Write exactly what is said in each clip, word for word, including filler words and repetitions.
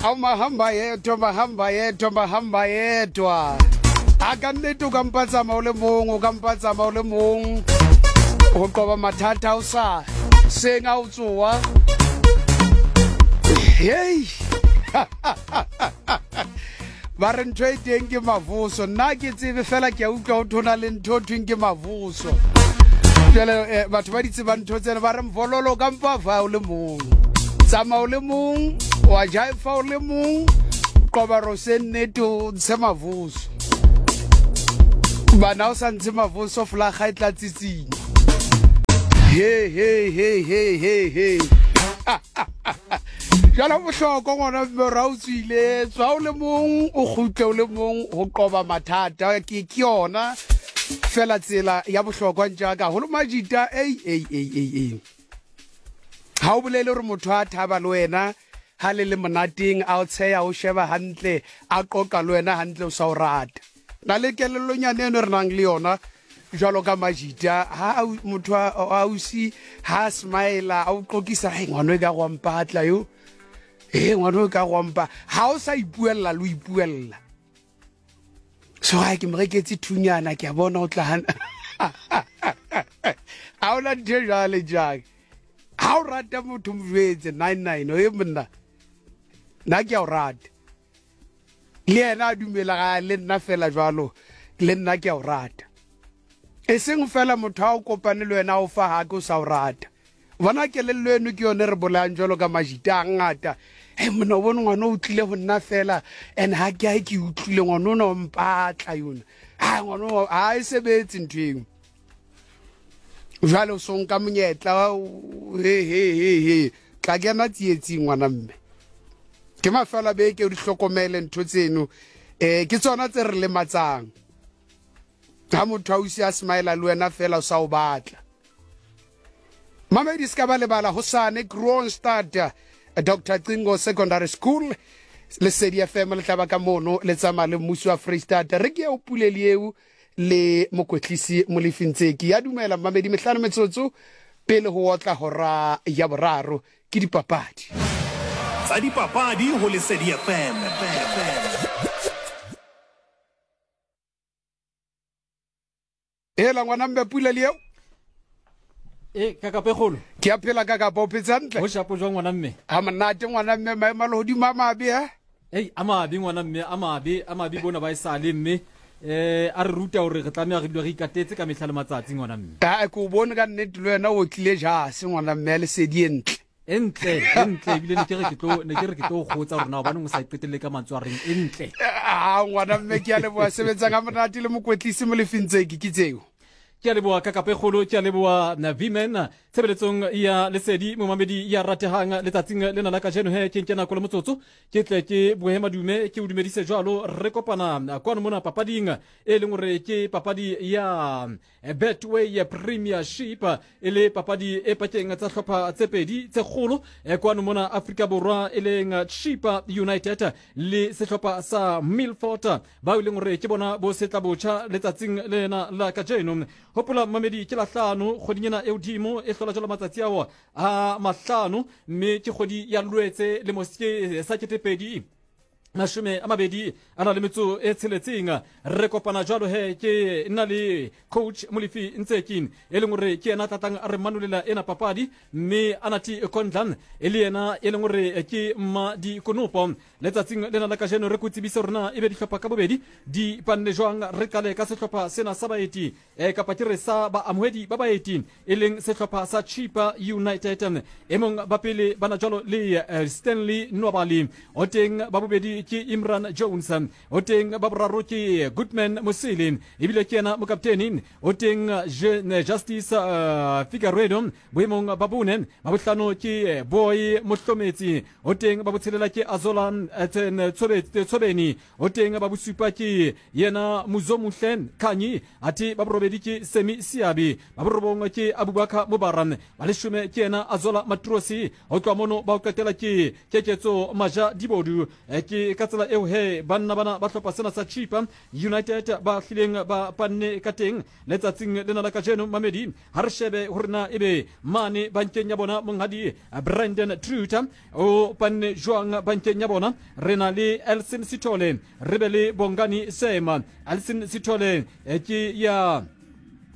Mahamba yedwa, mahamba yedwa, mahamba yedwa. A ka nnete o ka mpa tsamaya o le mong, o ka mpa tsamaya o le mong. Ho qoba mathata o sa seng a o tsoa. Hey. Ba re ntho e teng ke mavuso. Nna ke tsebe fela ke a utlwa ho thona le ntho ho thweng ke mavuso. Jwale batho ba di tsebang ntho tsena ba re mvololo ka mpa fa o le mong. Tsamaya o le mong, wa jaifa o le mong, qoba rose nnete o ntshe mavuso. Bana o sa ntshe mavuso folaga e tla tsitsinya. He he he he he he. Jwale ho bohlokwa ngwana mme ra o tswile, tswa o le mong, o kgutle o le mong ho qoba mathata. Ke ke yona fela tsela ya bohlokwa ntjaka haholo majita. Ei ei ei ei ei. Ha o bolele hore motho a thaba le wena ha le le monateng, a o tsheya, o sheba hantle, a qoqa le wena hantle, o sa o rata. Na le kelellonyane eno re nang le yona jwalo ka majita, ha motho a ausi ha smile a o qoqisa, hey ngwana e ka go mpatla yo, eh ngwana o ka go mpa, ha o sa ipuella lo ipuella. So ha ke mo reketse thunyana ke a bona o tla hana. Ha ona ntho jwale jang. Ha o rata motho mo jwetse nine nine o e monna. Nna ke a o rata. Le yena a dumela ga le nna fela jwalo, le nna ke a o rata. E seng fela motho a o kopane le wena o fa ha ke o sa o rata. Bona kelello eno ke yone re bolayang jwalo ka majita a ngata. Hey monna o bone ngwana o tlile ho nna fela and ha ke ha ke utlwile ngwana ona o mpatla yona. Ha ngwana ha e sebetse ntho eo. Jwale o so nka monyetla he he he he tla kena tsietsing ngwana mme. Ke mafelo a beke o di hlokomele ntho tseno, eh ke tsona tse re lematsang. Ha motho a usi a smile le wena fela o sa o batla. Mamedi ska ba lebala hosane Kroonstad Doctor Cingo Secondary School Lesedi F M le tlaba ka mono le tsamaya le mmuso wa Freistata. Re ke o puleli eo le mokwetlisi Molefi Ntseki. Ya dumela mamedi mehlano metsotso pele ho otla hora ya boraro ke dipapadi. Tsa dipapadi ho Lesedi F M. Hela ngwana mme puleli eo. E kakapegolo. Ke a phela kakapa o phetse hantle. Ho shapo jwang ngwana mme? Ha monate ngwana mme, maemo a lehodimo a mabe ha? Ei a mabe ngwana mme, a mabe, a mabe bona ba e sale mme. Eh a re ruta hore re tlameha re dule re ikatetse ka mehla le matsatsi ngwana mme. Ha ke o bone ka nnete le wena o tlile jase ngwana mme Lesedi e ntle. E ntle, e ntle ebile ne ke re ke tlo ne ke re ke tlo kgotsa rona hobane o sa iqetelle ka mantswe a reng e ntle. Ah ngwana mme ke a leboha, sebetsang ha monate le mokwetlisi Molefi Ntseki ke tseo. Ke a leboha kakapegolo, ke a leboha Vimen tshebeletsong ya Lesedi momamedi ya ratehang letsatsing lena la kajeno. He ke nke nako le motsotso ke tle ke bohe madume ke o dumedise jwalo. Re kopana kwano mona papading e leng hore ke papadi ya Betway Premiership, e le papadi e pakeng tsa hlopha tse pedi tse kgolo kwano mona Afrika Borwa, e leng Chippa United le sehlopha sa Milford, ba e leng hore ke bona bo setla botjha letsatsing lena la kajeno. Hopola mamedi ke la hlano kgweding ena e hodimo e hlola jwalo matsatsi ao a mahlano, mme ke kgwedi ya Lwetse le moske sa ketepedi mashome a mabedi a na le metso e tsheletseng. Re kopana jwalo he ke nna le coach Molefi Ntseki e leng hore ke yena tlatang a re manolela ena papadi, mme Anati Kondlan e le yena e leng hore ke mma dikonopo. Letsatsing lena la kajeno re ko tsebise hore na ebe dihlopha ka bobedi di panne jwang. Re qale ka sehlopha sena sa baeti eh, kapa ke re sa baamohedi ba baeti e leng sehlopha sa Chippa United. E mong ba pele bana jwalo le Stanley Nwabali, o teng ba bobedi ke Imran Jones, o teng ba boraro ke Goodman Mosele ebile ke yena mokapteni, o teng Justice uh, Figueredo boemong ba bone, ba bohlano ke Boy Mohlometsi, o teng ba botshelela ke Azola Tshobeni, o teng ba bosupa ke yena Muzomuhle Khanyi, athe ba borobedi ke Semi Siabi, ba borobong ke Abubakar Mubaran, ba leshome ke yena Azola Matrosi, ho tloha mono ba o qetela ke Keketso Maja Dibodu. Ke Ke ka tsela eo he banna bana ba hlopha sena sa Chippa United ba hlileng ba panne ka teng letsatsing lena la kajeno. Mamedi, ha re shebe hore na ebe mane bankeng ya bona monghadi Brandon Truter o panne jwang bankeng ya bona. Re na le Elson Sithole, re be le Bongani Sema. Elson Sithole ke ya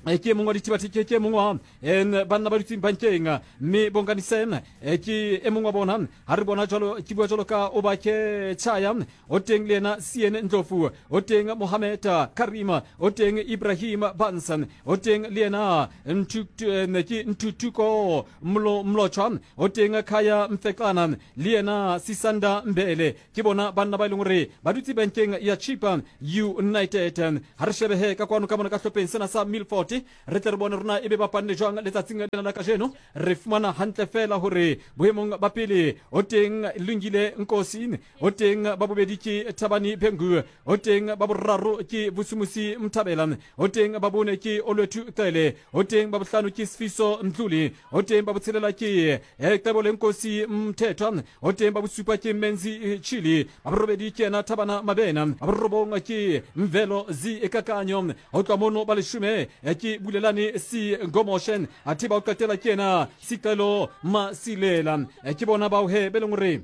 ke mongwe wa dithibathi, ke mongwe wa banna ba dutseng bankeng, mme Bongani Sam ke e mongwe wa bona. Ha re bona jwalo, ke bua jwalo ka Obake Chaya, o teng le yena Sien Ndlovu, o teng Mohamed Karima, o teng Ibrahim Bansan, o teng le yena ke Nthutuko Mlotshwa, o teng Khaya Mfekana, le yena Sisanda Mbele. Ke bona banna ba e leng hore ba dutse bankeng ya Chippa United. Ha re shebehe ka kwano ka mona ka hlopheng sena sa Milford, re tle re bone rona ebe ba panne jwang letsatsing lena la kajeno. Re fumana hantle fela hore boemong ba pele o teng Lungile Nkosi, o teng ba bobedi ke Thabani Bhengu, o teng ba boraro ke Vusumusi Mthabela, o teng ba bone ke Olwethu Cele, o teng ba bohlano ke Sifiso Mdluli, o teng ba botshelela ke Cebole Nkosi Mthethwa, o teng ba bosupa ke Menzi Chili, ba borobedi ke yena Thabana Mabena, ba borobong ke Mvelo Zikakanyo, ho tloha mono ba leshome ke Bulelani Si Ngomoshen, athe ba o qetela ke yena Sicelo Masilela. Ke bona bao he be leng hore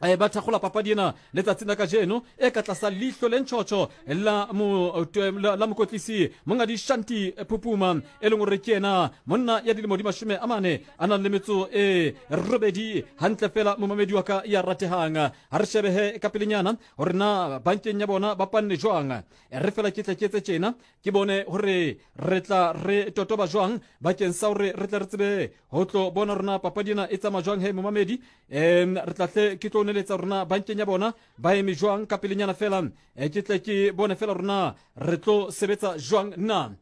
ba thakgola papadi ena letsatsing la kajeno e ka tlasa leihlo le ntjhotjho la la mokotlisi mongadi Shanti Pupuma, e leng hore ke yena monna ya dilemo di mashome a mane a nang le metso e robedi. Hantle fela momamedi wa ka ya ratehang, ha re shebehe ka pelenyana hore na bankeng ya bona ba panne jwang. Re fela ke tle ke etse tjena ke bone hore re tla re totoba jwang bakeng sa hore re tle re tsebe ho tlo bona rona papadi ena e tsamaya jwang. He momamedi, um re tla hle ke tlo neletsa rona bankeng ya bona ba eme jwang ka pelenyana fela, ke tle ke bone fela rona re tlo sebetsa jwang na.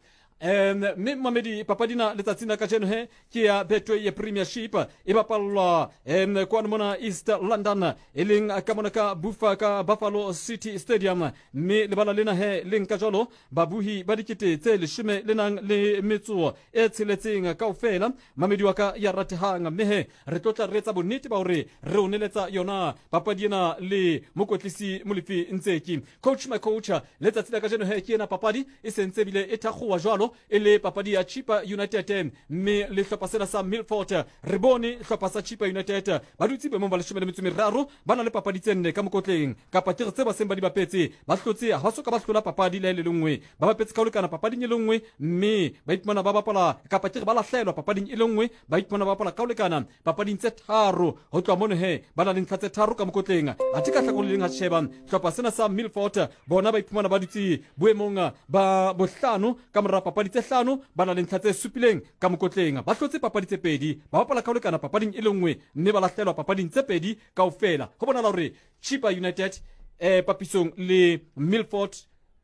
Um mme mamedi, papadi na letsatsing la kajeno he ke ya Betway Premiership, e bapallwa um kwano mona East London, e leng ka mona ka Bufa ka Buffalo City Stadium. Mme lebala lena he le nka jwalo babuhi ba dikete tse leshome le nang le metso e tsheletseng kaofela, mamedi wa ka ya ratehang. Mme he re tlo tla re etsa bonnete ba hore re o neletsa yona papadi ena le mokotlisi Molefi Ntseki. Coach my coach, letsatsi la kajeno he ke ena papadi e sentse bile e thakgowa jwalo e le papadi ya Chippa United mme le hlopha sena sa Milford. Re bone hlopha sa Chippa United ba dutse boemong ba leshome le metso meraro, ba na le papadi tse nne ka mokotleng, kapa ke re tse ba seng ba di bapetse, ba hlotse ha ba soka ba hlola papadi le le nngwe, ba bapetse ka ho lekana papading e le nngwe, mme ba iphumana ba bapala kapa ke re ba lahlelwa papading e le nngwe, ba iphumana ba bapala ka ho lekana papading tse tharo. Ho tloha mono he ba na le ntlha tse tharo ka mokotleng. Athe ka hlakoreng le leng ha sheba hlopha sena sa Milford bona ba iphumana ba dutse boemong ba bohlano ka mora papadi tse hlano, ba na le ntlha tse supileng ka mokotleng. Ba hlotse papadi tse pedi, ba bapala ka ho lekana papading e le nngwe, mme ba lahlelwa papading tse pedi kaofela. Ho bonahala hore Chippa United eh papisong le Milford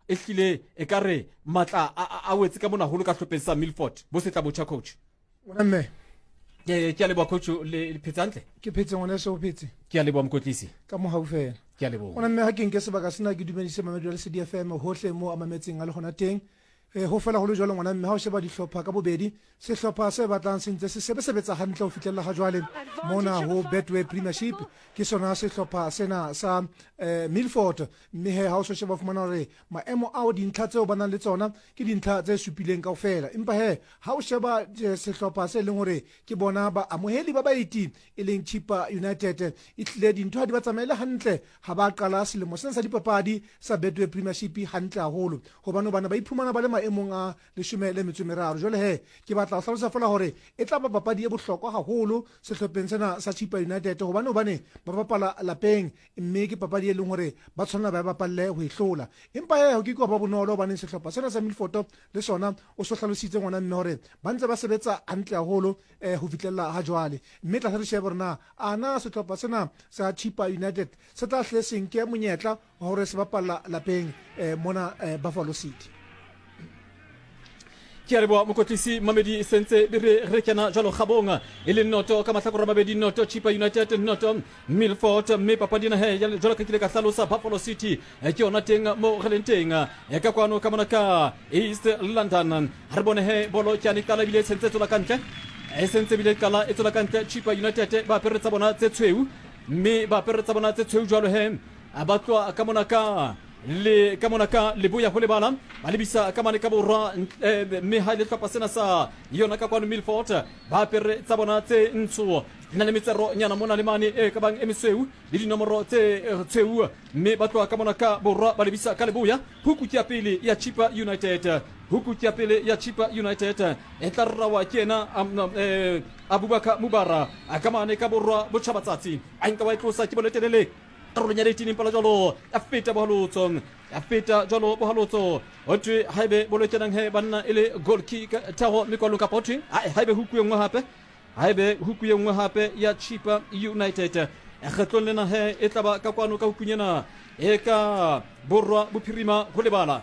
e hlile e ka re matla a wetse ka mona haholo ka hlopheng sa Milford. Bo setla botjha coach. Ngwana mme. Ke ke a leboha coach, le phetse hantle? Ke phetse ngwaneso, o phetse? Ke a leboha mokotlisi. Ka mohau fela. Ke a leboha. Ngwana mme, ha ke nke sebaka sena ke dumedise mamedi wa Lesedi F M hohle mo a mametseng a le hona teng. Eh ho fela ho le jwalo ngwana mme, ha o sheba dihlopha ka bobedi, sehlopha se batlang se ntse se sebetsa hantle ho fihlella ha jwale mona ho Betway Premiership ke sona sehlopha sena sa eh, Milford. Mme he ha o so sheba fumana hore maemo ao dintlha tseo ba nang le tsona ke dintlha tse supileng kaofela, empa he ha o sheba sehlopha se leng hore ke bona ba amoheli ba baeti e leng Chippa United, e tlile dintho ha di ba tsamaele hantle ha ba qala selemo sena sa dipapadi sa Betway Premiership hantle haholo, hobane bana ba iphumana ba le maemong a leshome le metso meraro. Jwale he ke batla ho hlalosa fela hore e tla ba papadi e bohlokwa haholo sehlopheng sena sa Chippa United, hobane hobane ba bapala lapeng, mme ke papadi e leng hore ba tshwanela ba bapalle ho e hlola. Empa he ho ke ke ba bonolo hobane sehlopha sena sa Milford le sona o so hlalositse ngwana mme hore ba ntse ba sebetsa hantle haholo eh ho fihlella ha jwale. Mme tla re shebe hore na ana sehlopha sena sa Chippa United se tla hle se nke monyetla wa hore se bapalla lapeng eh mona eh, Buffalo City. Ke a leboha mokotlisi Mamedi, sentse re re kena jwalo kgabong e le noto ka mahlakore a mabedi, noto Chippa United, noto Milford. Mme papadi ena he jwalo ka kile ka hlalosa, Buffalo City ke yona teng mo re leng teng ka kwano ka mona ka East London. Ha re bone he bolo ke yane qala ebile e sentse e tswela ka ntle, e sentse ebile qala e tswela ka ntle. Chippa United ba apere tsa bona tse tshweu, mme ba apere tsa bona tse tshweu jwalo he Ba tloha ka mona ka le ka mona ka leboya ho lebala ba lebisa ka mane ka borwa, mme ha ile hlopha sena sa yona ka kwano Milford ba apere tsa bona tse ntsho di na le metsero nyana mona le mane e ka bang e mesweu le dinomoro tse tshweu, mme ba tloha ka mona ka borwa ba lebisa ka leboya. Huku ke ya pele ya Chippa United, huku ke ya pele ya Chippa United e tla rawa ke yena Abubakar Mubara a ka mane ka borwa botjhabatsatsi, a nka wa e tlosa ke boletelele karolong ya eighteen impala jwalo ya feta bohalotso, ya feta jwalo bohalotso. Ho thwe haebe bolo kenang he banna e le goal kick tharo mekwalong kapa ho thwe haebe huku e nngwe hape, haebe huku e nngwe hape ya Chippa United kgetlong lena he e tlaba ka kwano ka hukung ena e ka borwa bophirima ho lebala,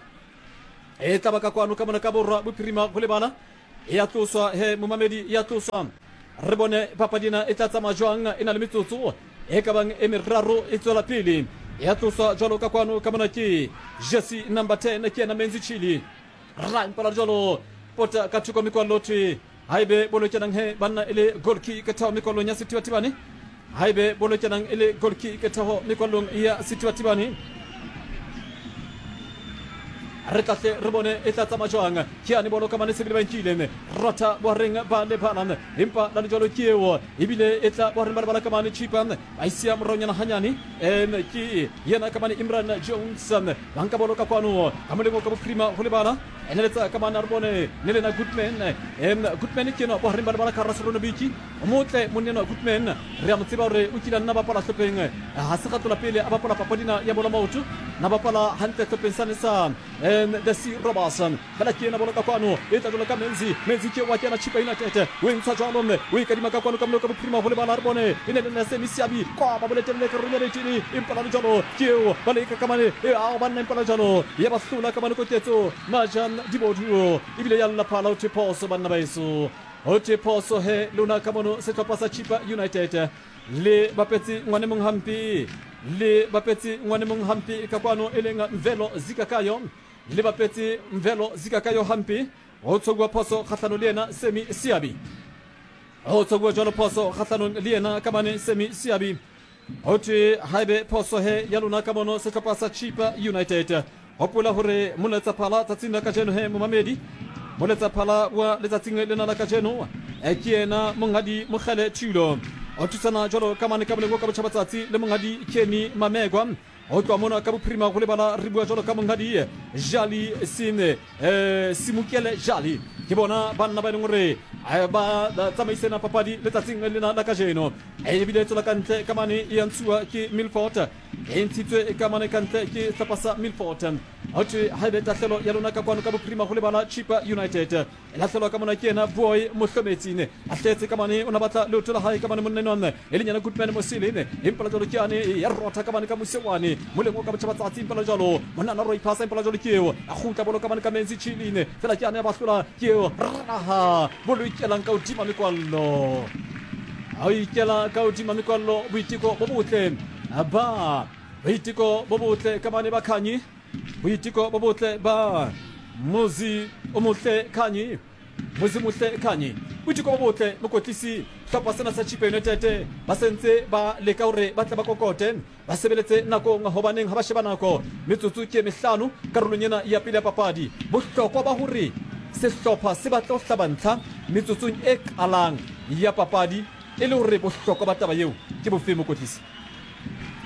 e tlaba ka kwano ka mona ka borwa bophirima ho lebala. E ya tloswa he momamedi, ya tloswa. Re bone papadi ena e tla tsamaya jwang, e na le metsotso e ka bang e meraro e tswela pele. Ya tloswa jwalo ka kwano ka mona ke jersey number ten ke yena Menzi Chili, ra impala jwalo pota ka thoko mekwallo thwe haebe bolo kenang he banna e le goal kick thao mekwallong ya Sethibathibane, haebe bolo kenang e le goal kick thao mekwallong ya Sethibathibane. Re tlahle re bone e tla tsamaya jwang. Ke yane bolo ka mane sebele ba nkile rotha bohareng ba lebala, empa la lejwalo ke eo ebile e tla bohareng ba lebala ka mane Chippa ba isia moraonyana hanyane. Em ke yena ka mane Imran Jones ba nka bolo ka kwano ka molemo ka bophirima ho lebala, eneletsa ka mane re bone ne lena Goodman. Em Goodman ke ena bohareng ba lebala ka Raserono Biki o motle monna Goodman, re a mo tseba hore o kile a nna bapala hlopheng ha se kgatlola pele a bapala papadina ya bola maoto, na bapala hantle hlopheng sane sa the Sea Robertson. Fela ke ena bolo ka kwano e tla jwalo ka Menzi, Menzi ke wa kena Chippa United o e ntsha jwalo mme o e kadima ka kwano ka moleko ka bophirima ho lebala. Re bone e ne le nna Semi Siabi kwa ba boletelele ka rona letini empa la jwalo ke eo ba leka ka mane e ao banna empa la jwalo ya ba hlola ka mane koketso Majan Diboduo ebile ya lla phala ho thwe phoso banna ba eso, ho thwe phoso he lona ka mono sehlopha sa Chippa United le bapetse ngwane mong hampe, le bapetse ngwane mong hampe ka kwano e leng Mvelo Zikakayo, le bapetse Mvelo Zikakayo hampe. Ho tshokuwa phoso kgahlano le yena Semi Siabi, ho tshokuwa jwalo phoso kgahlanong le yena ka mane Semi Siabi. Ho thwe haebe phoso he ya lona ka mono sehlopha sa Chippa United. Hopola hore moletsaphala tsatsing la kajeno he momamedi, moletsaphala wa letsatsing lena la kajeno ke yena monghadi Mokgele Thulo, o thusana jwalo ka mane ka moleng ka botjhabatsatsi le monghadi Kenny Mamegwa. Ho tloha mona ka bophirima ho lebala re bua jwalo ka monghadi Jali Sine eh Simukele Jali, ke bona banna ba e leng hore ba tsamaisena papadi letsatsing lena la kajeno. Ebile e tswela ka ntle ka mane e ya ntshuwa ke Milford, e ntshitswe ka mane ka ntle ke sehlopha sa Milford. Ho thwe haebe tahlelo ya lona ka kwano ka bophirima ho lebala Chippa United e lahlelwa ka mona ke yena Boy Mohlometsine, a hletse ka mane o na batla leoto la hae ka mane monna enwa e leng yena Goodman Mosile, empa la jwalo ke yane ya rotha ka mane ka mosewane moleng o ka botjhabatsatsi, empa la jwalo monna na roi phasa, empa la jwalo ke eo a kgutla bolo ka mane ka Menzi Chiline, fela ke yane ya ba hlola ke eo raha bolo ikelang ka hodima mekwallo, a ikela ka hodima mekwallo. Boiteko bo botle ba boiteko bo botle ka mane ba Khanyi, boiteko bo botle ba Mozi o motle Khanyi, Mozi motle Khanyi, boiteko bo botle mokotlisi hlopha sena sa Chippa United ba sentse ba leka hore ba tle ba kokote ba sebeletse nakong, hobaneng ha ba sheba nako metsotso ke mehlano karolong ena ya pele ya papadi. Bohlokwa ba hore sehlopha se batle ho hlaba ntlha metsotsong e qalang ya papadi e le hore bohlokwa ba taba eo ke bofe mokotlisi?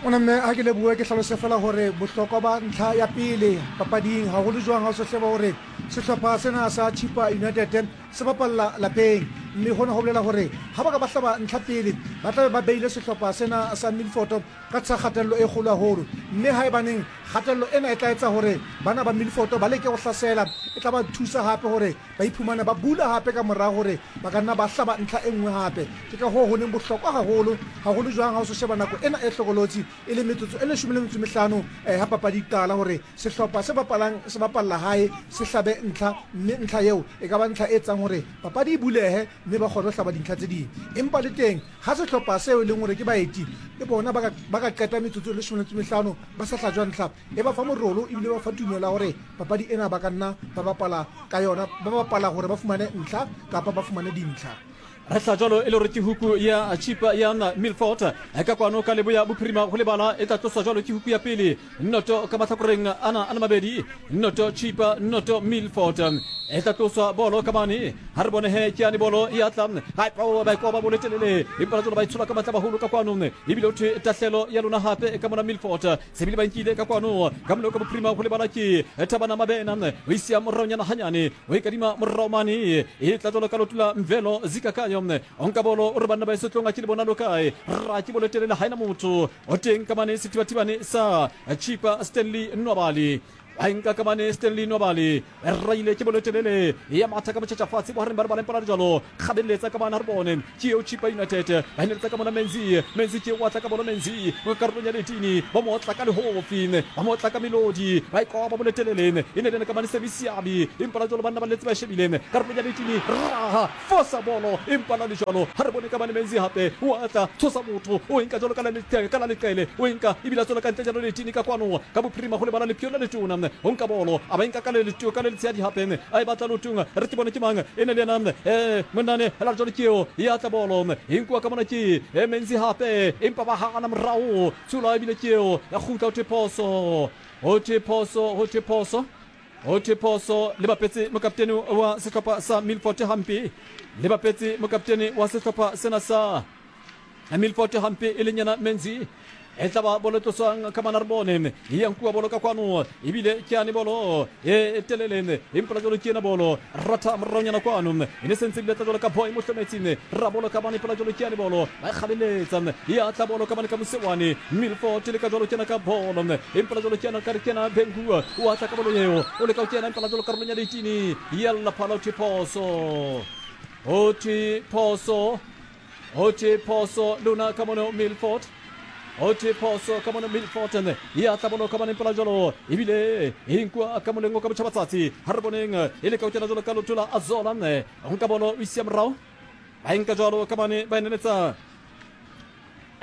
Ona mme ha ke lebohe ke hlalose fela hore bohlokwa ba ntlha ya pele papading haholo jwang ha o se sheba hore sehlopha sena sa Chippa United se bapalla lapeng, mme hona ho bolela hore ha ba ka ba hlaba ntlha pele ba tlabe ba beile sehlopha sena sa Milford ka tlasa kgatello e kgolo haholo, mme haebaneng kgatello ena e tla etsa hore bana ba Milford ba leke ho hlasela, e tla ba thusa hape hore ba iphumane ba bula hape ka mora hore ba ka nna ba hlaba ntlha e nngwe hape. Ke ka hoo ho leng bohlokwa haholo haholo jwang ha o se sheba nako ena e hlokolotsi e le metsotso e leshome le metso e mehlano ha papadi e qala, hore sehlopha se bapalang se bapalla hae se hlabe ntlha, mme ntlha eo e ka ba ntlha e etsang hore papadi e bulehe mme ba kgone ho hlaba dintlha tse ding. Empa le teng ha sehlopha seo e leng hore ke baeti le bona ba ka ba ka qeta metsotso e leshome le metso e mehlano ba sa hlajwa ntlha, e ba fa morolo ebile ba fa tumelo ya hore papadi ena ba ka nna ba bapala ka yona, ba bapala hore ba fumane ntlha kapa ba fumane dintlha. Re tla jalo e le gore ke huku ya Chipa ya Milford ka kwano ka leboya bophirima go lebala e tla tloswa jalo ke huku ya pele noto ka matlhakoreng ana a le mabedi noto Chipa noto Milford e tla tloswa bolo ka mane ha re bone he ke yane bolo e atla ga ba ikoba bolo telele empa jalo ba itshola ka matla baholo ka kwano ebile o thwe tahlelo ya lona hape ka mona Milford sebile ba nkile ka kwano ka moloko ka bophirima go lebala ke Thabana Mabena o isia moraonyana hanyane o e kadima morao mane e tla jalo ka lotula Mvelo Zikakayo onka bolo o re banna ba esetlong a ke le bona lo kae ra ke bolo telele ha ena motho o teng ka mane sethibathibane sa Chipa Stanley Nwabali a nka ka mane Stanley Nwabali raile ke bolo telele ya matha ka motšhetša fatshe bogareng ba re ba lempela jalo kgabeletsa ka bana re bone ke eo Chipa United ba heletsa ka mona Menzi Menzi ke wa tla ka bolo Menzi mo karolong ya letini ba mo otla ka lehofi ba mo otla ka melodi ba ikoba bolo telele e ne le ka mane Sebisiabi empa la jalo banna ba letse ba shebile karolong ya letini raha fosa bolo empa la jalo ha re bone ka mane Menzi hape wa tla tshosa motho o nka jalo ka la ka la leqele o nka ebile tswela ka ntle jalo letini ka kwano ka bophirima go lebala lephio la letona o nka bolo a ba nka ka le letio ka le letshadi hape a e batla lotong re ke bone ke mang e ne le yena eh monnane la jalo ke eo ya tla bolo e nkuwa ka mona ke e Menzi hape empa ba hana morao tsula ebile ke eo ya kgutla ho thwe phoso ho thwe phoso ho thwe phoso ho thwe phoso le bapetse mokaptene wa sehlopha sa Milford hampe le bapetse mokaptene wa sehlopha sena sa Milford hampe e leng yena Menzi e tla ba bolo tloswang ka mana re bone e ya nkuwa bolo ka kwano ebile ke yane bolo e telele empa la jalo ke ena bolo ratha moraonyana kwano e ne sentse ebile tla jalo ka boy mohlometsing ra bolo ka bane pela jalo ke yane bolo ba e kgabeletsa ya tla bolo ka bane ka mosewane Milford le ka jalo ke ena ka bolo empa la jalo ke ena ka re ke ena Bengua o atla ka bolo eo o leka ho kena empa la jalo karolong ya letini ya lla phala ho thwe phoso ho thwe phoso ho thwe phoso lona ka mono Milford ho thwe phoso ka mona Milford ya tla bolo ka mane pela jalo ebile e nkuwa ka molengo ka botjhabatsatsi ha re boneng e le ka ho kena jalo ka lotho la Azola nka bolo o isia morao ba nka jalo ka mane ba eneletsa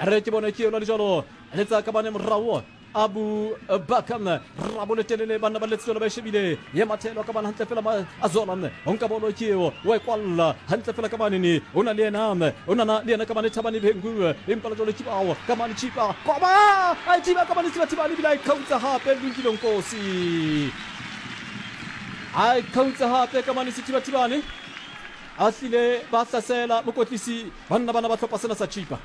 re ke bone ke yona le jalo letsa ka mane morao Abu Bakam rabole telele banna ba letselo ba shebile ya mathelo ka bana hantle fela Azola onka bolo ke eo wa e kwalla hantle fela ka manene o na le yena o nana le yena ka mane Thabane Bhengu empa la jalo ke bao ka mane Chipa koba a thiba ka mane Thiba Thibane ebile a e khautsa hape Lungile Nkosi a e khautsa hape ka mane Sethiba Thibane a hlile ba hlasela mokotlisi banna bana ba tlhopha sena sa Chipa.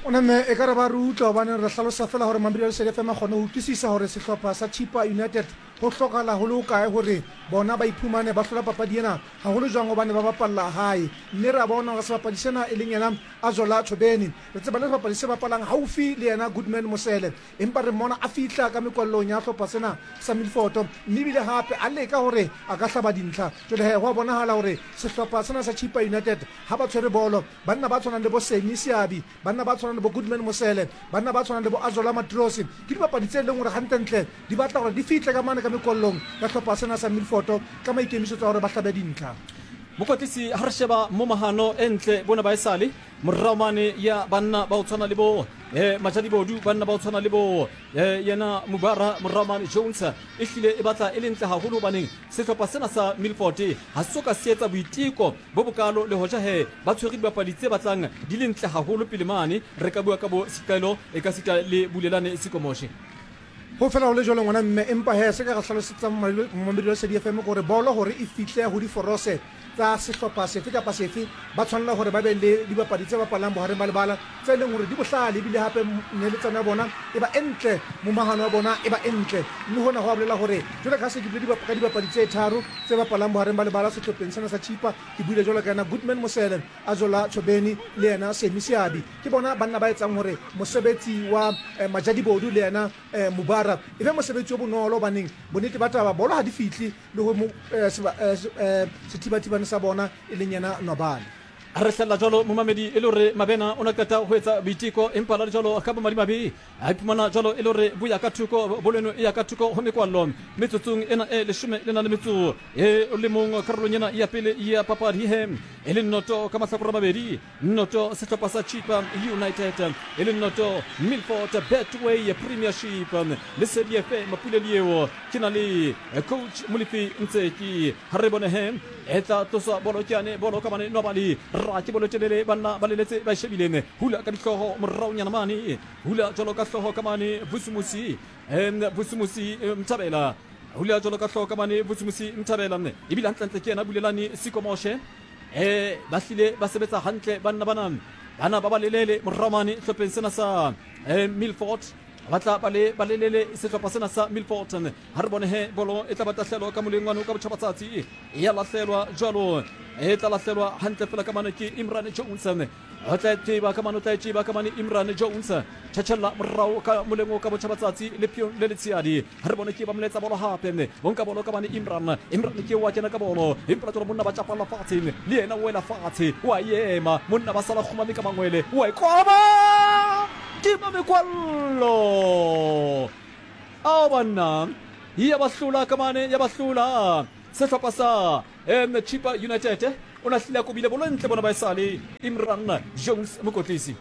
O namme e ka re ba re utlwa hobane re hlalosa fela hore Mamedi Lesedi F M a kgone ho utlwisisa hore sehlopha sa Chipa United ho hlokahala ho le hokae hore bona ba iphumane ba hlola papadi ena haholo jwang hobane ba bapalla hae. Mme re a bona hore sebapadi sena e leng yena Azola Thobeni re tseba le sebapadi se bapalang haufi le yena Goodman Mosele empa re mmona a fihla ka mekwallong ya hlopha sena sa Milford mme ebile hape a leka hore a ka hlaba dintlha. Jwale he ho a bonahala hore sehlopha sena sa Chipa United ha ba tshwere bolo banna ba tshwanang le bo Semi Seabi banna ba tshwanang le bo Goodman Mosele banna ba tshwanang le bo Azola Matrosi ke dibapadi tse leng hore hantlentle di batla hore di fihle ka mane ka mekollong ya hlopha sena sa Milford ka maikemisetso a hore ba hlabe dintlha. Mokotlisi ha re sheba momahano e ntle bona ba esale morao mane ya banna ba o tshwana le bo eh Majadibodu banna ba o tshwana le bo eh yena Mubara morao mane Jones e hlile e batla e le ntle haholo hobaneng sehlopha sena sa Milford ha se ka se etsa boiteko bo bokalo le hoja he ba tshwere dibapadi tse batlang di le ntle haholo pele mane re ka bua ka bo Sikaelo e ka sita le Bulelane Sikomoshe. Ho fela ho le jwalo ngwana mme empa he se ka re hlalosetsang Mamedi Lesedi F M hore bolo hore e fihle ho diforose tsa sehlopha sefe kapa sefe ba tshwanela hore ba be le dibapadi tse bapalang bohareng ba lebala tse leng hore di bohlale ebile hape neletsano ya bona e ba entle momahano wa bona e ba entle mme hona ho a bolela hore jwale ka se ke buile ka dibapadi tse tharo tse bapalang bohareng ba lebala sehlopheng sena sa Chipa ke buile jwalo ka yena Goodman Mosele Azola Thobeni le yena Semi Seabi ke bona banna ba etsang hore mosebetsi wa eh, Majadibodu le yena eh, Mubara e be mosebetsi o bonolo baneng bonnete ba taba bolo ha di fihle le ho eh, eh, sethibathibane sa bona e leng yena Nwabali. Re hlella jalo momamedi e le hore Mabena o na qeta ho etsa boiteko empa la jalo ka bomadimabe a iphumana jalo e le hore bo ya ka thoko boleno e ya ka thoko ho mekwallo metsotsong ena e leshome le na le metso e le mong karolong ena ya pele ya papadi he e le noto ka mahlakore a mabedi noto sehlopha sa Chipa United e le noto Milford Betway Premiership Lesedi F M Mapule eo ke na le coach Molefi Ntseki ha re bone he e tla tloswa bolo ke yane bolo ka mane Nwabali Ra ke bolo telele banna ba leletse ba shebile hula ka dihlooho moraonyana mane hula jwalo ka hlooho ka mane Vusumusi em Vusumusi Mthabela hula jwalo ka hlooho ka mane Vusumusi Mthabela ebile hantlentle ke yena Bulelani Sikomoshe eh ba hlile ba sebetsa hantle banna bana bana ba ba lelele morao mane hlopheng sena sa eh, Milford ba tla ba le ba lelele sehlopha sena sa Milford ha re bone he bolo e tla ba tahlelo ka moleng wa ka botjhabatsatsi ya lahlelwa jwalo e tla lahlelwa hantle fela ka mane ke Imran Jones o tla tseba ka mane o tla tseba ka mane Imran Jones tjhatjhella morao ka moleng ka botjhabatsatsi le pion le letsheadi ha re bone ke ba moletsa bolo hape o nka bolo ka mane Imran Imran ke wa kena ka bolo empa tsolo monna ba tjapalla fatshe le yena o wela fatshe wa ema monna ba sala kgumame ka mangwele wa ikwaba tima mekwallo ao banna ya ba hlola ka mane ya ba hlola sehlopha sa em Chippa United o na hlile a kobile bolo ntle bona ba esale Imran Jones mokotlisi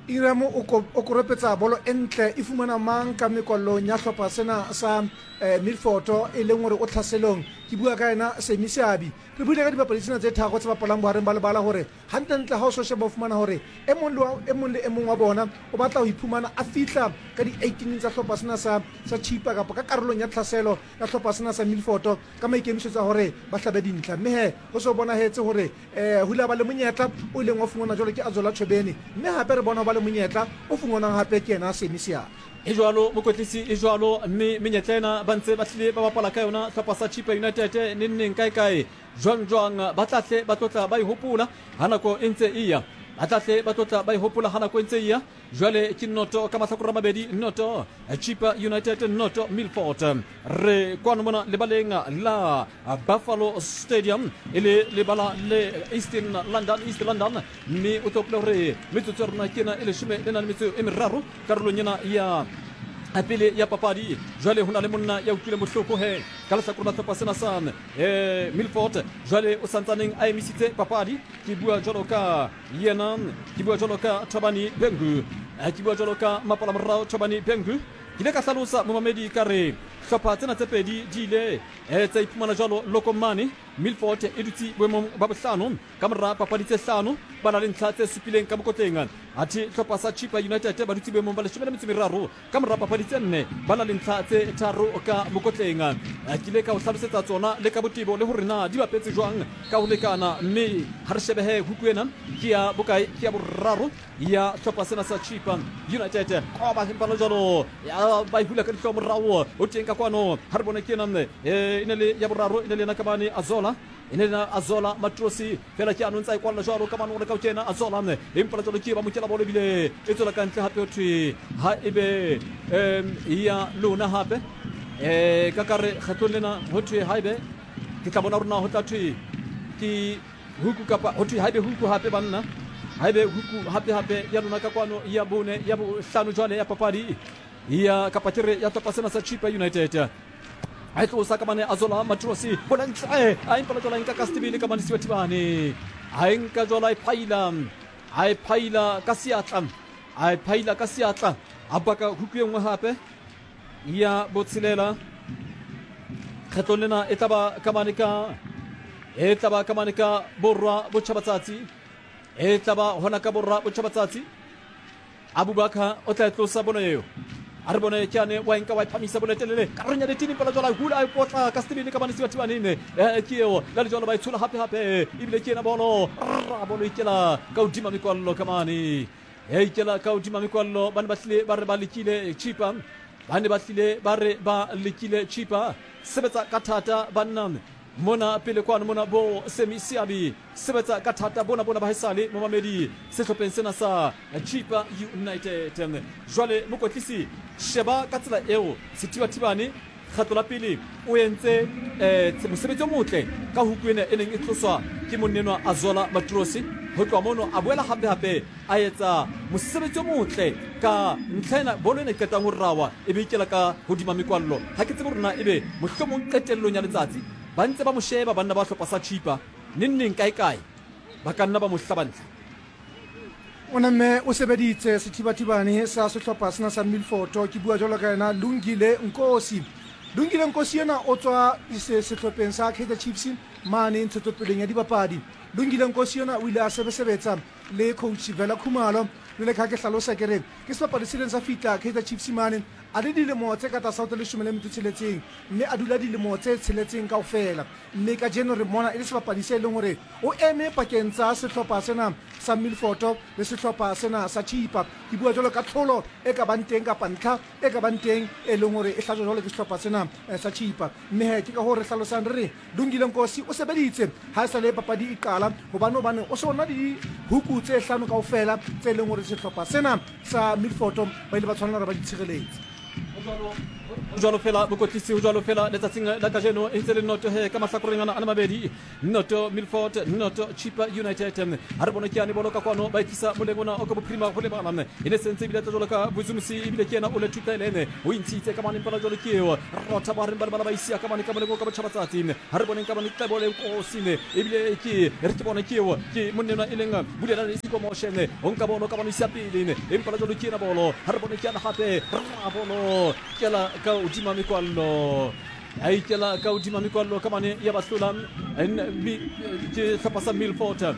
Iram o koropetsa bolo entle e fumana mang ka mekwallong ya hlopha sena sa eh, Milford e leng hore o tlhaselong ke bua ka yena Semi Seabi re buile ka dibapadi tsena tse tharo tse bapalang bohareng ba lebala hore hantlentle ha o so sheba o fumana hore e mong le e mong le e mong wa bona o batla ho iphumana a fihla ka di-eighteen tsa hlopha sena sa sa Chippa kapa ka karolong ya tlhaselo ya hlopha sena sa Milford ka maikemisetso a hore ba hlabe dintlha mme he ho so bonahetse hore eh ho ile ba le monyetla o ileng wa fumana jwalo ke Azola Chobeni mme hape re bona ba le monyetla o fumanang hape ke yena Semi Seabi e jwalo mokotlisi e jwalo mme menyetla ena ba ntse ba hlile ba bapala ka yona hlopha sa Chippa United neng neng kae kae jwang jwang ba tla hle ba tlotla ba e hopola ha nako e ntse e ya ba tla hle ba tlotla ba e hopola ha nako e ntse e ya jwale ke noto ka mahlakore a mabedi noto Chippa United noto Milford re kwano mona lebaleng la Buffalo Stadium e le lebala le Eastern London East London mme o tlo hopola hore metsotso ya rona ke ena e leshome le nang le metso e meraro karolong ena ya pele ya papadi jwale ho na le monna ya utlwileng bohloko he ka lehlakore la hlopha sena sa eh, Milford jwale o santsaneng a emisitse papadi ke bua jwalo ka yena ke bua jwalo ka Thobani Bengu ke bua jwalo ka mapala morao Thobani Bengu ke ile ka hlalosa momamedi ka re hlopha tsena tse pedi di ile eh, tsa iphumana jwalo lokomane Milford e dutse boemong ba bohlano ka mora papadi tse hlano ba na le ntlha tse supileng ka mokotleng athe hlopha sa Chippa United ba dutse boemong ba leshome le metso meraro ka mora papadi tse nne ba na le ntlha tse tharo ka mokotleng ke ile ka o hlalosetsa tsona le ka botebo le hore na di bapetse jwang ka ho lekana mme ha re shebehe huku ena ke ya bokae ke ya boraro ya hlopha sena sa Chippa United koba empa le jwalo ya ba e hula ka dihlooho morao o teng ka kwano ha re bone ke ena e ne le ya boraro e ne le yena ka mane Azola e ne le Azola Matrosi fela ke ano ntsa e kwalla jwalo ka mane o re ka o kena Azola empa jwalo ke ba mokela bolo ebile e tswela ka ntle hape ho thwe ha ebe um ya lona hape um ka kare kgetlong lena ho thwe ha ebe ke tla bona hore na ho tla thwe ke huku kapa ho thwe ha ebe huku hape banna ha ebe huku hape hape ya lona ka kwano ya bone ya bohlano jwale ya papadi ya kapa ke re ya hlopha sena sa Chippa United a e tlosa ka mane Azola Matrosi bona ntle a empa jwala nka ka setebele ka mane Sibathibane a e nka jwala e phaila a e phaila ka seatla a e phaila ka seatla a baka huku e nngwe hape ya botshelela kgetlong lena e tla ba ka mane ka e tla ba ka mane ka borwa botjhabatsatsi e tla ba hona ka borwa botjhabatsatsi Abubakar o tla e tlosa bono eo a re bone ke ane wa nka wa phamisa bolo telele ka renya ditini pela jwala hula a potla ka setebele ka bane Sibathibaneng eh ke eo la le jwalo ba e tshola hape hape ebile ke ena bolo ra bolo ikela ka hodima mekwallo ka mane e ikela ka hodima mekwallo ba ne ba hlile ba re ba lekile Chippa ba ne ba hlile ba re ba lekile Chippa sebetsa ka thata banna mona pele kwano mona bo Semi Seabi sebetsa ka thata bona bona ba haesale momamedi sehlopheng sena sa Chippa United jwale mokotlisi sheba ka tsela eo Sethibathibane kgatlo la pele o entse eh mosebetsi o motle ka huku ena e neng e tloswa ke monnenwa Azola Matrosi ho tloha mono a boela hape hape a etsa mosebetsi o motle ka ntlha ena bolo ena e qetang ho rawa e be ikela ka hodima mekwallo ha ke tsebe hore na ebe mohlomong qetellong ya letsatsi ba ntse ba mo sheba banna ba hlopha sa Chippa neng neng kae kae ba ka nna ba mo hlaba ntlha o namme o sebeditse Sethibathibane sa sehlopha sena sa Milford ke bua jwalo ka yena Lungile Nkosi Lungile Nkosi yena o tswa sehlopheng sa Kaizer Chiefs mane ntshetsopeleng ya dibapadi. Lungile Nkosi yena o ile a sebesebetsa le coach Vela Khumalo le ka ke hlalosa ke re ke sebapadi se leng sa fihla Kaizer Chiefs mane a le dilemo tse ka tlasa ho tse leshome le metso tsheletseng mme a dula dilemo tse tsheletseng kaofela mme kajeno re mona e le sebapadi se leng hore o eme pakeng tsa sehlopha sena sa Milford le sehlopha sena sa Chipa. Ke bua jwalo ka tlholo e ka bang teng kapa ntlha e ka bang teng e leng hore e hlajwa jwalo ke sehlopha sena sa Chipa. Mme he ke ka hoo re hlalosang re re Lungile Nkosi o sebeditse ha e sale papadi e qala hobane hobane o se ona le dihuku tse hlano kaofela tse leng hore sehlopha sena sa Milford ba ile ba tshwanela hore ba di tshireletse. Jwalo fela bokotlisi ho jwalo fela letsatsing la kajeno e ntse le noto he ka mahlakoreng ana a le mabedi, noto Milford, noto Chipa United. Ha re bone ke yane bolo ka kwano ba itlisa moleng ona o ka bophirima ho lebala e ne sentse ebile tla jwalo ka Bozumusi ebile ke yena o le thutaelene o intshitse ka mane mpala jwalo ke eo rotha ba reng ba lebala ba isia ka mane ka moleng o ka botjhabatsatsi. Ha re boneng ka mane Tlebole Nkosi ebile ke re ke bone ke eo ke monnenwa e leng Bulelane Isikomoshene o nka bolo ka bano isia pele empa jwalo ke yena bolo. Ha re bone ke yana hape ra bolo kela ka hodima mekwallo a ikela ka hodima mekwallo ka mane ya bahlola ke hlopha sa Milford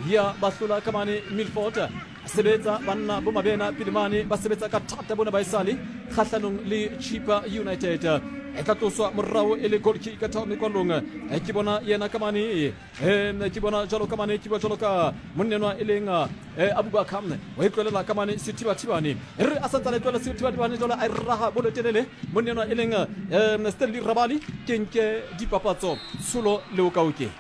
ya bahlola ka mane Milford sebetsa banna bo mabena pele mane ba sebetsa ka thata bona ba esale kgahlanong le Chipa United. E tla tloswa morao e le goal kick ka thao mekwallong ke bona yena ka mane ke bona jwalo ka mane ke bua jwalo ka monnenwa e leng Abubakar wa e tlolela ka mane Sethibathibane re a santsane e tlohela Sethibathibane jwalo a e raha bolo telele monnenwa e leng Stanley Rabali ke nke dipapatso tsholo le okaoke.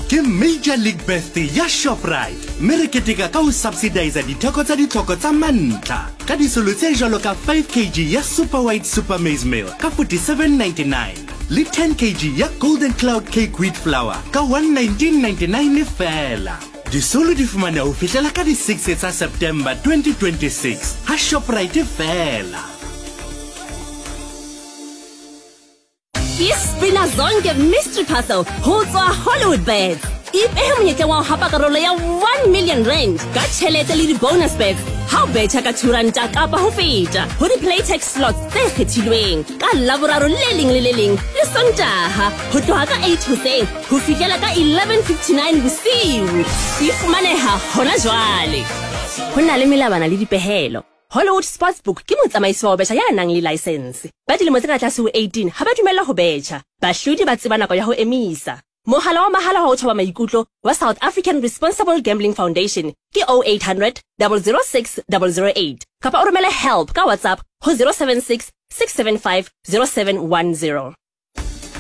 Ke Major League Birthday ya Shoprite mme re keteka ka ho subsidize ditheko tsa ditlhoko tsa mantlha ka disolo tse jwalo ka five kilograms ya Super White Super Maize Meal ka forty-seven ninety-nine le ten kilograms ya Golden Cloud Cake Wheat Flour ka one nineteen ninety-nine fela. Disolo di fumaneha ho fihlela ka di six tsa September twenty twenty-six ha Shoprite fela. Ke spina zonke mystery puzzle ho tswa Hollywood Bets. Ipehe monyetla wa ho hapa karolo ya one million rand ka tjhelete le di-bonus bets ha o betjha ka two ranta kapa ho feta ho di-Playtech slots tse kgethilweng ka Laboraro le leng le le leng le Sontaha ho tloha ka eight hoseng ho fihlela ka eleven fifty-nine bosiu. E fumaneha hona jwale. Ho na le melawana le dipehelo. Hollywood Sportsbook ke motsamaisi wa ho betjha ya nang le license. Ba dilemo tse ka tlase ho eighteen ha ba dumellwa ho betjha. Bahlodi ba tseba nako ya ho emisa. Mohala wa mahala wa ho thoba maikutlo wa South African Responsible Gambling Foundation ke oh eight hundred, double oh six, double oh eight kapa o romele help ka WhatsApp ho zero seven six, six seven five, zero seven one zero.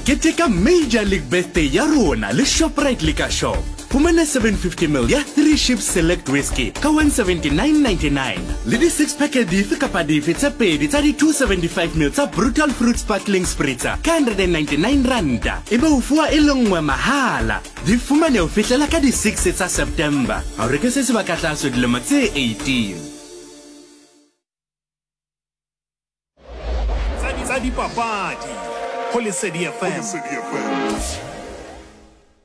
Keteka Major League Birthday ya rona le Shoprite Liquor Shop. Fumana seven fifty mil ya three Ships Select Whiskey ka one seventy-nine ninety-nine le di six pack dife kapa dife tse pedi tsa di two seventy-five mil tsa Brutal Fruit Sparkling Spritzer ka hundred and ninety-nine ranta ebe o fuwa e le nngwe mahala. Di fumane ho fihlela ka di six tsa September. Ha o reke se sebaka tlase dilemo tse eighteen. Tsa dipapadi ho Lesedi F M.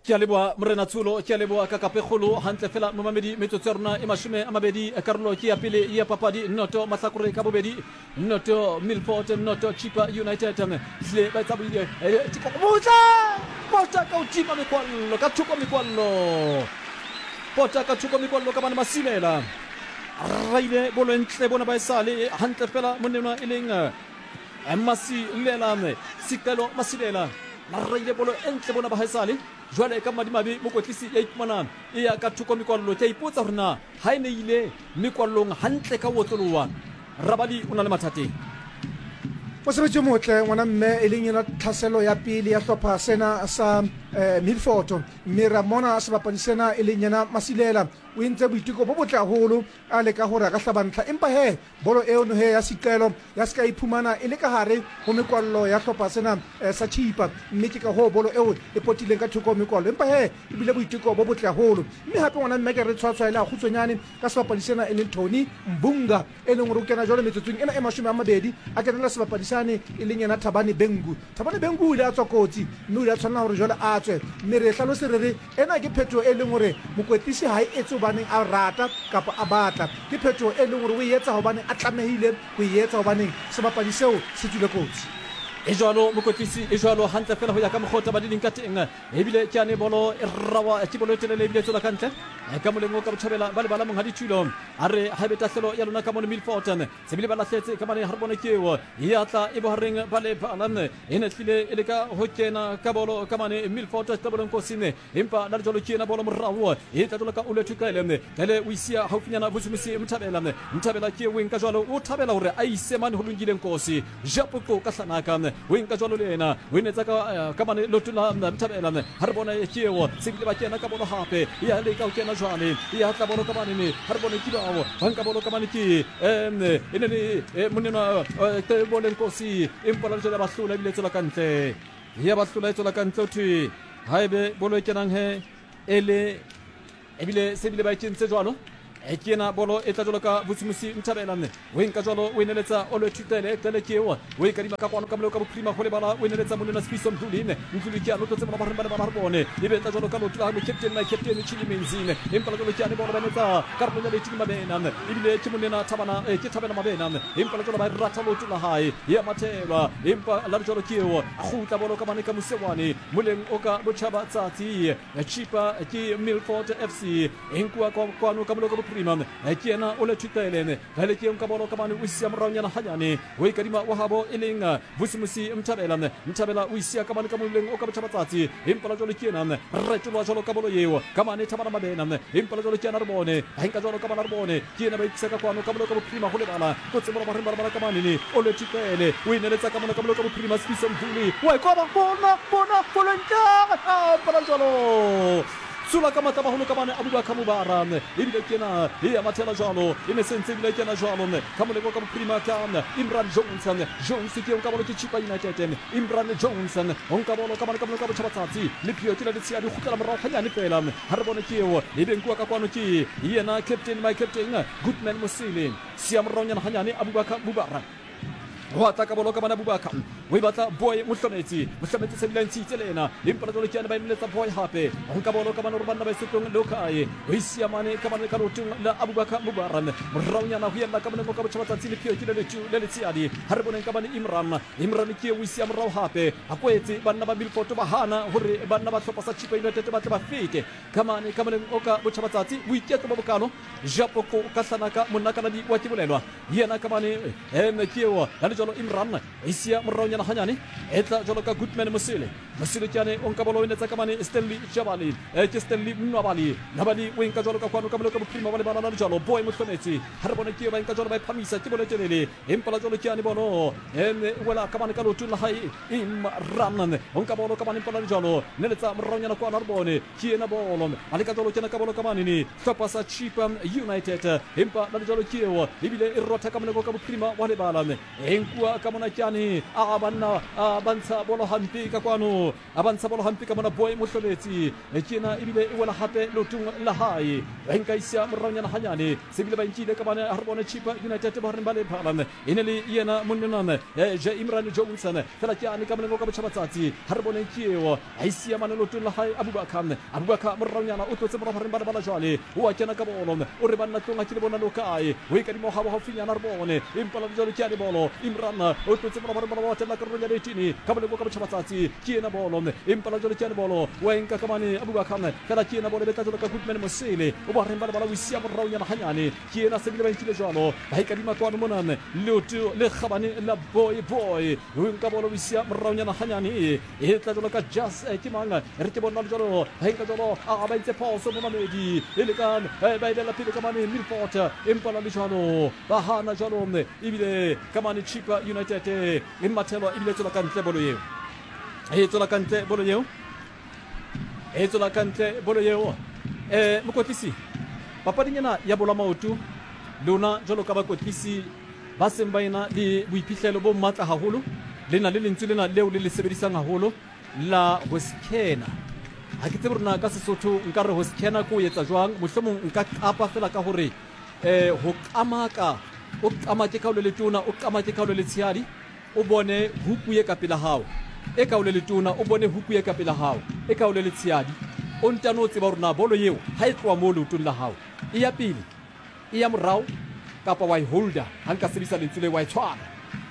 Ke a leboha Morena Tsholo, ke a leboha ka kapekgolo hantle fela momamedi metsotso ya rona e mashome a mabedi karolo ke ya pele ya papadi noto mahlakore ka bobedi noto Milford noto Chipa United hle ba etsa boile botla pota ka hodima mekwallo ka thoko mekwallo pota ka thoko mekwallo ka bana Masilela raile bolo ntle bona ba esale hantle fela monnenwa e leng Masilela Sicelo Masilela raile bolo entle bona ba haesale jwale ka madimabe mokotlisi ya iphumana e ya ka thoko mekwallo ke a ipotsa hore na ha e ne ile mekwallong hantle ka otlolowa Rabali o na le mathateng. Mosebetsi o motle ngwana mme e leng yona tlhaselo ya pele ya hlopha sena sa Milford mme ra mona sebapadi sena e leng yena Masilela o entse boiteko bo botle haholo a leka hore a ka hlaba ntlha empa he bolo eo no he ya Sicelo ya ska iphumana e le ka hare ho mekwallo ya hlopha sena sa Chipa mme ke ka ho bolo eo e potileng ka thoko mekwallo empa he e bile boiteko bo botle haholo mme hape ngwana mme ke re tshwatshwaele a kgutsonyane ka sebapadi sena e leng Tony Mbunga e leng hore o kena jwale metsotsong ena e mashome a mabedi a kenela sebapadi sane e leng yena Thabane Bengu. Thabane Bengu o ile a tswa kotsi mme o ile a tshwanela hore jwale a a tswe. Mme re hlalose re re ena ke phetoho e leng hore mokwetlisi ha e etse hobaneng a rata kapa a batla, ke phetoho e leng hore o e etsa hobaneng a tlamehile ho e etsa hobaneng sebapadi seo se tswile kotsi. E jwalo mokwetlisi, e jwalo hantle fela ho ya ka mokgwa taba di leng ka teng. Ebile ke ane bolo e rawa ke bolo e telele ebile e tswela ka ntle ka moleng o ka botjhabela ba lebala monghadi Thulo. A re ha ebe tahlelo ya lona ka mono Milford se bile ba lahletse ka mane ha re bone ke eo ya tla e bohareng ba lebala e ne tlile e le ka ho kena ka bolo ka mane Milford Tebeleng Kosine, empa la jwalo ke ena bolo morao e tla jwalo ka Olwethu Qele. Qele o isia haufinyana Vusumusi Mthabela. Mthabela ke o nka jwalo, o thabela hore a ise mane ho Lungile Nkosi Japoqo ka hlanaka o nka jwalo le ena o enetsa ka ka mane loto la Mthabela. Ha re bone ke eo se bile ba kena ka bolo hape ya leka ho kena jwale ya tla bolo ka mane ne ha re bone ke bao ba nka bolo ka mane ke em e ne le monena Tebeleng Nkosi, empa la jwale ba hlola ebile tswela ka ntle ya ba hlola e tswela ka ntle thwe haebe bolo e kenang he ele ebile se bile ba e kentse jwalo. E ke ena bolo e tla jwalo ka Vusumusi Mthabela o nka jwalo o eneletsa Olwethu Qele. Qele ke eo o e kadima ka kwano ka moleo ka bophirima ho lebala o eneletsa monena Sifiso Mdluli. Mdluli ke ano tlotse bona ba reng ba lebala re bone e be tla jwalo ka loto la captain my captain Chili Menzine, empa la jwalo ke ane bolo ba enetsa karolong ya Lethini Mabena ebile ke monena Thabana ke Thabela Mabena, empa la jwalo ba rata loto la hae ya mathelwa, empa la jwalo ke eo a kgutla bolo ka mane ka mosewane moleng o ka botjhaba tsatsi Chipa ke Milford F C e nkuwa kwano ka moleo ka bophirima ke ena Olwethu Qele. Qele ke nka bolo ka mane o isia moraonyana hanyane o e kadima wa habo e leng Vusumusi Mthabela. Mthabela o isia ka mane ka moleng o ka botjhaba tsatsi, empa la jwalo ke ena retolwa jwalo ka bolo eo ka mane Thabana Mabena, empa la jwalo ke ena re bone ha nka jwalo ka bana re bone ke ena ba ikisa ka kwano ka moleo ka bophirima ho lebala kotse bolo ba reng ba lebala ka mane ne Olwethu Qele o ineletsa ka mona ka moleo ka bophirima Sifiso Mdluli wa e koba bona bona bolo ntle empa la jwalo tsula ka matla baholo ka mane Abubakar Mubara ebile ke ena e ya mathela jwalo e ne sentse ebile ke ena jwalo ka moleko ka bophirima ka Imran Johnson. Jones ke nka bolo ke Chipa United. Imran Johnson o nka bolo ka mane ka moleko ka botjhabatsatsi le phio ke la letshia di kgutlela morao hanyane fela ha re bone ke eo e be nkuwa ka kwano ke yena captain my captain Goodman Mosele sia moraonyana hanyane Abubakar Mubara ho tla ka bolo ka bana Abubakar o e batla Boy Mohlometse. Mohlometse se bile ntshitse le ena empa la jwalo ke ena ba emeletsa Boy hape ho nka bolo ka bana hore banna ba setlong le kae o isia mane ka mane ka lotong la Abubakar Mubara moraonyana ho yella ka monengo ka botjhaba tsatsi le phio ke le letu le letshiadi ha re boneng ka bane Imran. Imran ke o isia morao hape a kwetse banna ba Milford ba hana hore banna ba hlopha sa Chipa United ba tle ba fete ka mane ka moneng o ka botjhaba tsatsi boiketlo bo bokalo Japoko ka hlanaka monnakaladi wa ke bolelwa yena ka mane em ke o la jwalo Imran isia moraonyana hanyane e tla jwalo ka Goodman Mosele. Mosele ke ane o nka bolo o enetsa ka mane Stanley Jabali ke Stanley Nwabali. Nwabali o nka jwalo ka kwano ka moleko bophirima ba lebala la jwalo Boy Mohlometse ha re bone ke ba nka jwalo ba iphamisa ke bolo telele empa la jwalo ke ane bolo em wela ka mane ka lotong la hae Imran o nka bolo ka mane empa la jwalo neletsa moraonyana kwano ha re bone ke ena bolo a le ka jwalo kena ka bolo ka mane ne hlopha sa Chipa United empa la jwalo ke eo ebile e rotha ka moleko ka bophirima wa lebala e nkuwa ka mona ke ane a banna a bantsha bolo hampe ka kwano a bantsha bolo hampe ka mona Boy Mohlometse ke ena ebile e wela hape lotong la hae ba nka isia moraonyana hanyane se bile ba nkile ka bana ha re bone Chipa United ba reng ba le phala e ne le yena monnenana je Imran Johnson fela ke ane ka molengo ka botjhaba tsatsi ha re bone ke eo a isia mane lotong la hae Abubakar. Abubakar moraonyana o tlotse morao reng ba le bala jwale o a kena ka bolo o re banna tlong a ke le bona lo kae o e kadimo ha bo haufinyana re bone empa la jwalo ke ane bolo Imran o tlotse morao reng ba ba tella karolong ya letini ka moleko ka botjhaba tsatsi ke ena bolo empa la jwalo ke ane bolo wa nka ka mane Abubakar fela ke ena bolo e tla jwalo ka Goodman Mosele o ba reng ba le bala o isia moraonyana hanyane ke ena se bile ba nkile jwalo ba e kadima kwano mona leoto le kgabane la Boy Boy o nka bolo o isia moraonyana hanyane e tla jwalo ka Jas ke mang re ke bona jwalo ba nka jwalo a ba itse phoso mo mamedi e le ka ba e bela pele ka mane Milford empa la le jwalo ba hana jwalo ebile ka mane Chipa United e mathelwa ebile tswela ka ntle bolo eo e tswela ka ntle bolo eo e tswela ka ntle bolo eo. Eh mokwetlisi papading ena ya bolo maoto lona jwalo ka bakwetlisi ba seng ba ena le boiphihlelo bo matla haholo le na le lentswe lena leo le le sebedisang haholo la ho skena. Ha ke tsebe rona ka Sesotho nka re ho skena ko etsa jwang, mohlomong nka qapa fela ka hore eh ho qamaka o qamake ka ho le letona o qamake ka ho le letshehadi o bone huku e ka pela hao. E ka o le letona o bone huku e ka pela hao, e ka o le letshehadi, o ntano o tseba hore na bolo eo ha e tloha moo leotong la hao e ya pele, e ya morao, kapa wa e holder, ha nka sebedisa lentswe le wa e tshwara.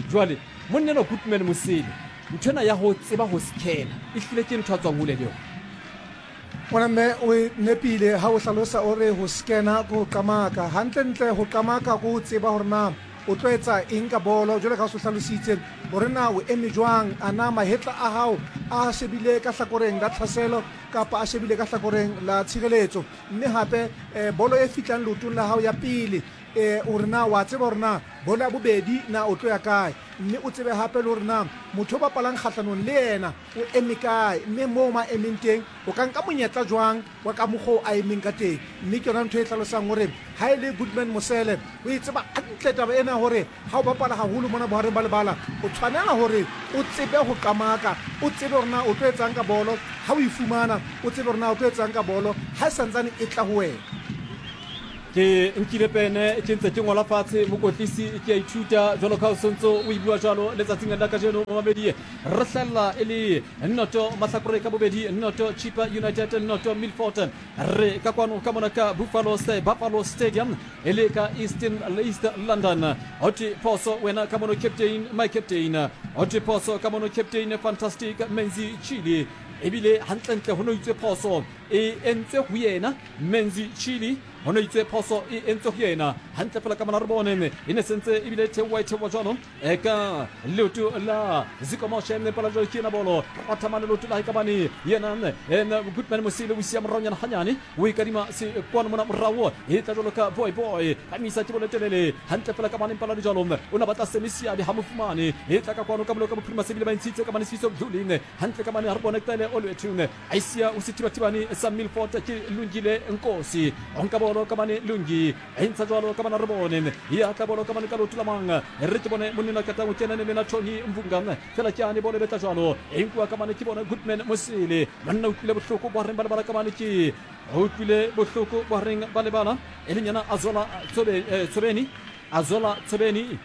Jwale monna enwa Goodman Mosele, nthwena ya ho tseba ho scanner e hlile ke ntho a tswang hole le yona. Ngwana mme o e nepile ha o hlalosa o re ho scanner ke ho qamaka. Hantlentle ho qamaka ke ho tseba hore na o tlo etsa eng ka bolo, jwale ka o se hlalositse hore na o eme jwang, a na mahetla a hao a shebile ka hlakoreng la tlhaselo kapa a shebile ka hlakoreng la tshireletso. Mme hape eh, bolo e fihlang leotong la hao ya pele, eh, hore na wa tseba hore na bolo ya bobedi na o tlo ya kae, mme o tsebe hape le hore na motho o bapalang kgahlanong le yena o eme kae, mme moo ma emeng teng o ka nka monyetla jwang wa ka mokgwa o a emeng ka teng. Mme ke yona ntho e hlalosang hore ha e le Goodman Mosele o e tseba hantle taba ena hore ha o bapala haholo mona bohareng ba lebala, o tshwanela hore o tsebe ho qamaka, o tsebe hore na o tlo etsang ka bolo ha o e fumana, o tsebe hore na o tlo etsang ka bolo ha e santsane e tla ho wena. Ke nkile pene ke ntse ke ngola fatshe, mokotlisi ke a ithuta jwalo ka o sontso o e bua jwalo letsatsing la kajeno. Momamedi, re hlella e le noto mahlakore ka bobedi, noto Chippa United, noto Milford. Re ka kwano ka mona ka Buffalo Buffalo Stadium e le ka Eastern East London. Hothwe phoso wena ka mono captain, my captain. Hothwe phoso ka mono captain Fantastic Menzi Chili. Ebile hantlentle ho no itswe phoso e entswe ho yena Menzi Chili, ho no itswe phoso e entswe ho yena hantle fela ka mona re bone e ne sentse ebile theoha e theoha jwalo e ka leoto la Ziko Moshe mme pala jwalo ke yena bolo ratha mane leoto la hae ka bane yena ena Goodman Mosele o siya moraonyana hanyane, o e kadima se kwano mona morao e tla jwalo ka boy boy phamisa ke bolo telele hantle fela ka bane pala jwalo o na batla semisiabe ha mofumane e tla ka kwano ka bolo ka bophirima sebile ba ntshitse ka bane Sifiso Mdluli hantle ka bane ha re bone qele Olwethu a isia o sethibathibane sa Milford ke Lungile Nkosi o nka bolo ka bane Lungi e ntsha jwalo ka bana re bone ya tla bolo ka bane ka leoto la mang re ke bone monna ka tang o kena le na Tony Mvunga fela ke ane bolo betla jwalo e nkuwa ka bane ke bone Goodman Mosele monna o utlwile bohloko bo reng ba lebala ka bane ke o utlwile bohloko bo reng ba lebala e leng yena Azola Tsobeni Azola Tsobeni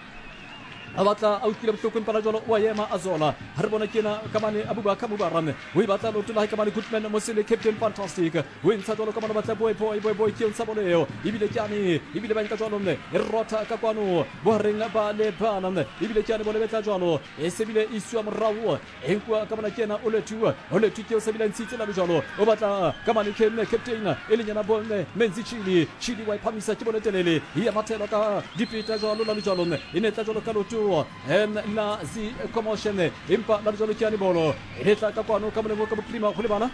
a batla a utlwile bohloko empa la jwalo wa ema Azola ha re bona ke ena ka mane Abubakar Mubarak o e batla leoto la hae ka mane Goodman Mosele captain Fantastic o e ntsha jwalo ka mane batla boy boy boy boy ke ntsha bolo eo ebile ke ane ebile ba nka jwalo mme e rotha ka kwano bohareng ba lebala mme ebile ke ane bolo betla jwalo e sebile e isiwa morao e nkuwa ka mona ke ena Olwethu Olwethu ke o sebile ntshitse la jwalo o batla ka mane captain e leng yena bonne Menzi Chili Chili wa iphamisa ke bolo telele e ya mathelo ka dipeta jwalo la jwalo mme e ne tla jwalo ka leoto en la zi commotion empa la jwalo ke ane bolo e tla ka kwano ka molemo ka bophirima go lebala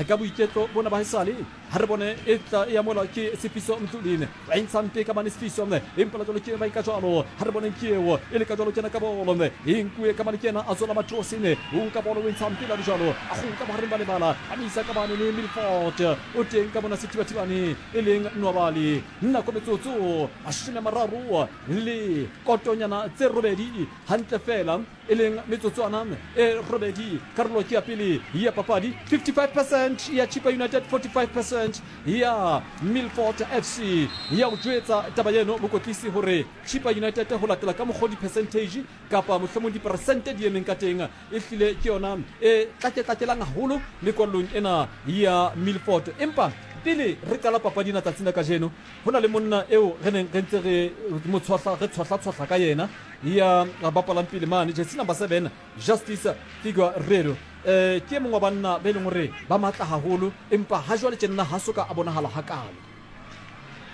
ka boiketlo bona ba haesale ha re bone e tla e amola ke Sifiso Mdluli ba ntsha mpe ka mane Sifiso empa la jwalo ke ba ka jwalo ha re bone ke eo e le ka jwalo kena ka bolo e nkuwe ka mane ke yena Azola Matrosine o nka bolo o ntsha mpe la jwalo a go nka bohareng ba lebala a misa ka bane le Milford o teng ka bona sethibathibane e leng Nwabali nako metsotso mashome a mararo le kotonyana tse robedi hantle fela e leng metsotswana e robedi karolo ke ya pele ya papadi fifty-five percent ya Chippa United, forty-five percent ya Milford F C. Ya o jwetsa taba eno mokotlisi hore Chippa United ho latela ka mokgwa di-percentage kapa mohlomong diperesente di emeng ka teng e hlile ke yona e tlaketlatelang haholo mekwallong ena ya Milford. Empa pele re qala papadi ena tsatsing la kajeno ho na le monna eo re neng re ntse re mo tshwahla re tshwahla-tshwahla ka yena ya bapalang pele mane jersey number seven Justice Figueiredo. Eh ke mongwe wa banna ba e leng hore ba matla haholo empa ha jwale tjenna ha soka a bonahala hakalo.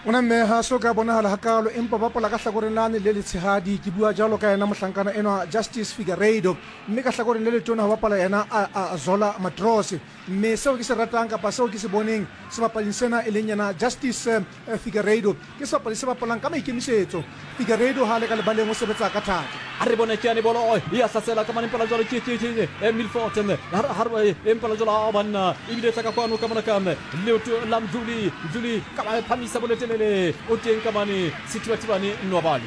Ona mme ha soka bonahala hakalo empa bapala ka hlakoreng lane le letshehadi ke bua jalo ka yena mohlankana enwa Justice Figueiredo mme ka hlakoreng le letona ha bapala yena Azola Matrose mme seo ke se ratang kapa seo ke se boneng sebapading sena e leng yena Justice Figueiredo ke sebapadi se bapalang ka maikemisetso. Figueiredo ha le ka lebaleng o sebetsa ka thata. A re bone ke ane bolo ya hlasela ka mane mpala jwalo ke ke ke Milford ha re empala jwalo a banna ebile tla ka kwano ka mona ka leoto la Mdluli Mdluli ka ba phamisa bolo telele o teng ka mane sethibathibane Nwabali.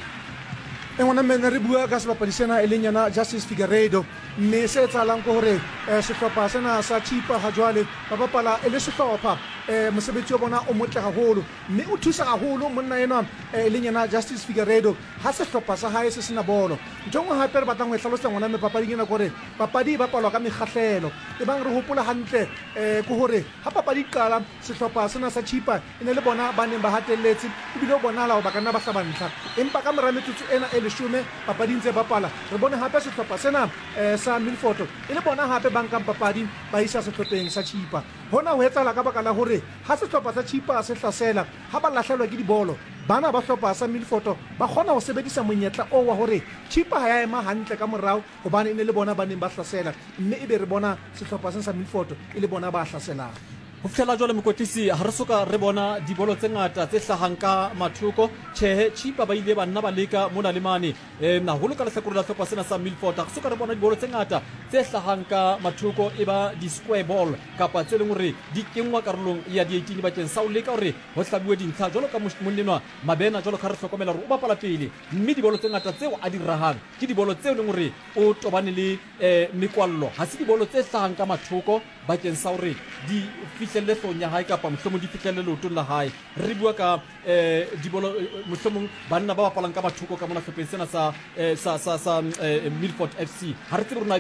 E ngwana mme ne re bua ka sebapadi sena e leng yena Justice Figueiredo, mme se etsahalang ke hore eh, sehlopha sena sa Chipa ha jwale ba bapala e le sehlopha. eh, Mosebetsi wa bona o motle haholo, mme o thusa haholo monna enwa eh, e leng yena Justice Figueiredo ha sehlopha sa hae se sena bolo. Ntho e nngwe hape re batlang ho e hlalosa ngwana mme papading ena ke hore papadi e bapalwa ka mekgahlelo. E bang re hopola hantle eh, ke hore ha papadi e qala sehlopha sena sa Chipa e ne le bona ba neng ba hatelletse, ebile ho bonahala hore ba ka nna ba hlaba ntlha, empa ka mora metsotso ena e leshome papadi ntse bapala, re bone hape sehlopha sena eh, sa Milford e le bona hape ba nkang papadi ba isa sehlopheng sa Chipa. Hona ho etsahala ka baka la hore ha sehlopha sa Chipa se hlasela, ha ba lahlelwa ke dibolo, bana ba hlopha sa Milford ba kgona ho sebedisa monyetla oo wa hore Chipa ha ya ema hantle ka morao, hobane e ne le bona ba neng ba hlasela, mme ebe re bona sehlopha sena sa Milford e le bona ba hlaselang. Ho fihlela jwale mokwetlisi ha re soka re bona dibolo tse ngata tse hlahang ka mathoko. Tjhehe, Chipa ba ile ba nna ba leka mona le mane, um haholo ka lehlakore la hlopha sena sa Milford. Ha re soka re bona dibolo tse ngata tse hlahang ka mathoko, e ba di-square ball kapa tse leng hore di kenngwa karolong ya di-eighteen bakeng sa ho leka hore ho hlabuwe dintlha jwalo ka monnenwa Mabena. Jwalo ka re hlokomela hore o bapala pele, mme dibolo tse ngata tseo a di rahang ke dibolo tseo leng hore o tobane le um mekwallo, ha se dibolo tse hlahang ka mathoko bakeng sa hore di fihlelle hloohong ya hae kapa mohlomong di fihlelle leotong la hae. Re bua ka um dibolo, mohlomong banna ba bapalang ka mathoko ka mona hlopheng sena sa sa sa sa Milford F C. Ha re tsebe rona ebe